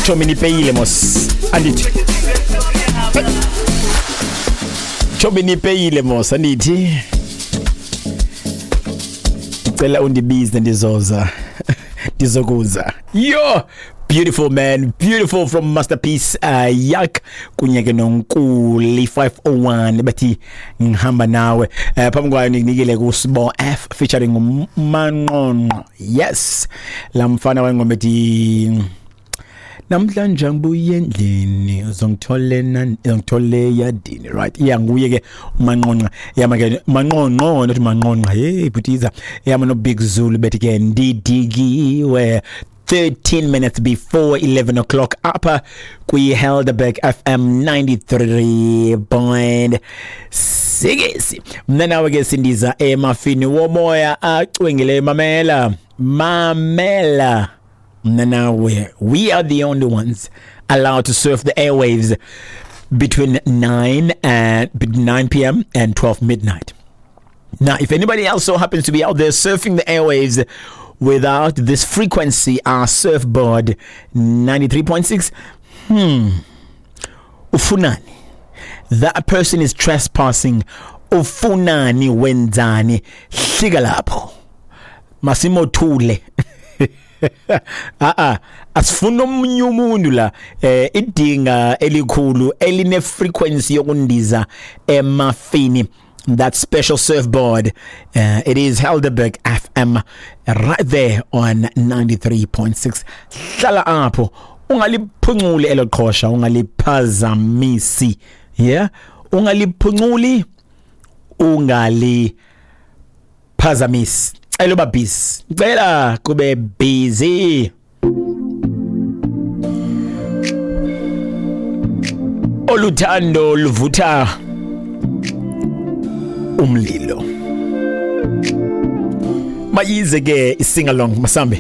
Chomi nipeyile mos, andithi. Chomi nipeyile mos, andithi. Ndicela undibize ndizoza. Ndizokuza. Yo, beautiful man, beautiful from Masterpiece Yak kunye ke noNkuli 501 bathi ngihamba nawe. Phambi kwayo nikunikele kuSibo F featuring uManqonqo. Yes. Lamfana wengoma ethi namhlanje ngibuye endlini uzongithole nani, uzongithole yadini, right? Yeah, nguye ke uManqonqa. Yama ke Manqonqo, not Manqonqa. Hey butiza. Yama no Big Zulu bethi ke ndidikiwe. 13 minutes before 11 o'clock apha kwi-Helderberg FM 93.6. Mna nawe ke sindiza emafini womoya acwengile. Mamela, mamela, mna nawe, we are the only ones allowed to surf the airwaves between 9 and 9 p.m. and 12 midnight. Now, if anybody else so happens to be out there surfing the airwaves without this frequency, our surfboard 93.6, ufunani? That person is trespassing. Ufunani, wenzani? Hlika lapho. Masimothule. Ah ah, asifuna omunye umuntu la. Idinga elikhulu eline frequency yokundiza emafini, that special surfboard, it is Helderberg FM right there on 93.6. Hlala apho, ungaliphunculi elo qhosha, ungaliphazamisi. Yeah, ungaliphunculi, ungaliphazamisi. Cela uba busy, cela kube busy. Oluthando luvutha umlilo. Mayize ke i-sing along, masambe.